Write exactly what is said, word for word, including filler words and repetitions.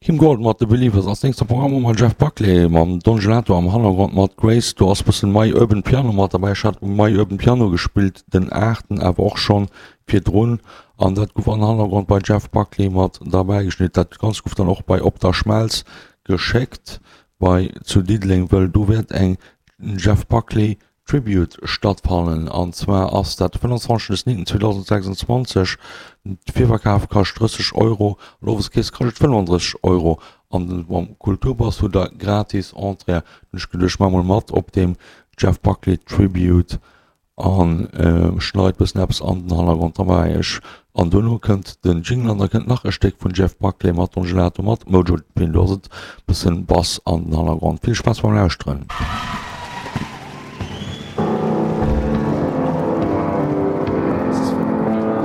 Kim Gordon mat The Believers. Als nächst am Programm hu mer Jeff Buckley mam Don Gelato am Hannergrond mat Grace. Do ass bëssen My Urban Piano mat derbäi. Ech hat My Urban Piano gespillt, den aachten awer och schonn virdrun an dat gouf an Hannergrond bei Jeff Buckley mat derbäi geschnidden. Dat Ganzt gouf dann och bei Op der Schmelz geschéckt bei zu Diddeleng, wëll do wäert eng Jeff Buckley Tribute stattfannen an zwar ass dat de fënnwanzwanzegsten des zweedausendsechsundzwanzeg. De Virverkaf kascht drësseg Euro an Oweskeess kascht et fënnefandrësseg Euro an den mam Kulturpass hutt der gratis Entrée. Hunn ech geduecht, ech maache mol mat op deem Jeff Buckley Tribute an schneit bëssen eppes an den Hannergrond derbäi. Ech an duerno kënnt den Jingle an da kënnt nach e Stéck vun Jeff Buckley mat Don Gelato mat Mojo Pin. Do ass et bëssen Bass an den Hannergrond. Vill Spaass beim Lauschteren.